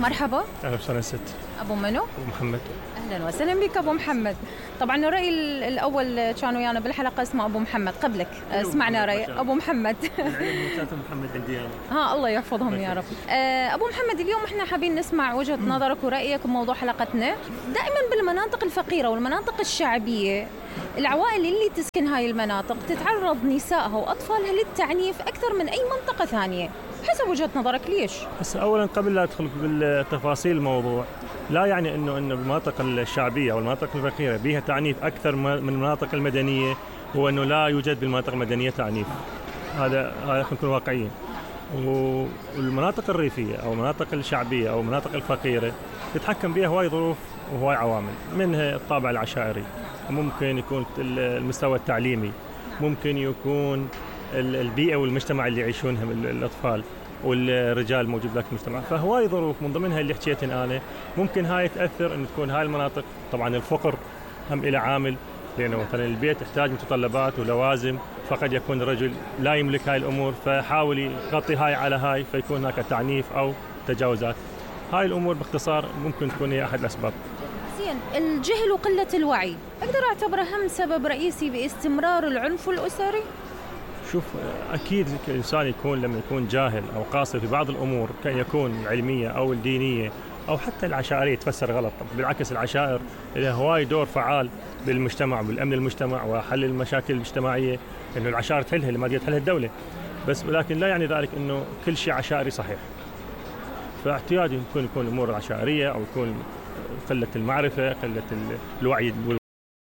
مرحبا. أهلا وسهلا ست. أبو منو؟ أبو محمد. أهلا وسهلا بك أبو محمد. طبعا الرأي الأول كان ويانا بالحلقة اسمه أبو محمد قبلك. سمعنا رأي أبو محمد. محمد عندي أنا. الله يحفظهم يا رب. أبو محمد، اليوم احنا حابين نسمع وجهة نظرك ورأيك بموضوع حلقتنا. دائما بالمناطق الفقيرة والمناطق الشعبية، العوائل اللي تسكن هاي المناطق تتعرض نسائها وأطفالها للتعنيف أكثر من أي منطقة ثانية. حسب وجهة نظرك ليش؟ بس أولا قبل لا أدخل بالتفاصيل الموضوع، لا يعني إنه بالمناطق الشعبية أو المناطق الفقيرة بها تعنيف أكثر من المناطق المدنية، هو إنه لا يوجد بالمناطق المدنية تعنيف. هذا نكون واقعيين. والمناطق الريفية أو المناطق الشعبية أو المناطق الفقيرة تتحكم بها هواي ظروف وهواي عوامل، منها الطابع العشائري، ممكن يكون المستوى التعليمي، ممكن يكون البيئة والمجتمع اللي يعيشونها الأطفال والرجال الموجود ذاك المجتمع. فهواي ظروف من ضمنها اللي حكيتن أنا ممكن هاي تأثر إن تكون هاي المناطق. طبعا الفقر هم إلى عامل، لأنه مثلا البيت يحتاج متطلبات ولوازم، فقد يكون الرجل لا يملك هاي الأمور فيحاول يغطي هاي على هاي، فيكون هناك تعنيف أو تجاوزات. هاي الأمور باختصار ممكن تكون هي أحد الأسباب. زين، الجهل وقلة الوعي أقدر أعتبره هم سبب رئيسي باستمرار العنف الأسري؟ شوف، أكيد الإنسان لما يكون جاهل أو قاصر في بعض الأمور، كان يكون العلمية أو الدينية أو حتى العشائرية تفسر غلط. بالعكس، العشائر لها هواي دور فعال بالمجتمع وبالأمن المجتمع وحل المشاكل الاجتماعية، إنه العشائر تحلها اللي ما قد تحلها الدولة. ولكن لا يعني ذلك إنه كل شيء عشائري صحيح. فاعتيادي يكون الأمور العشائرية أو يكون قلة المعرفة، قلة الوعي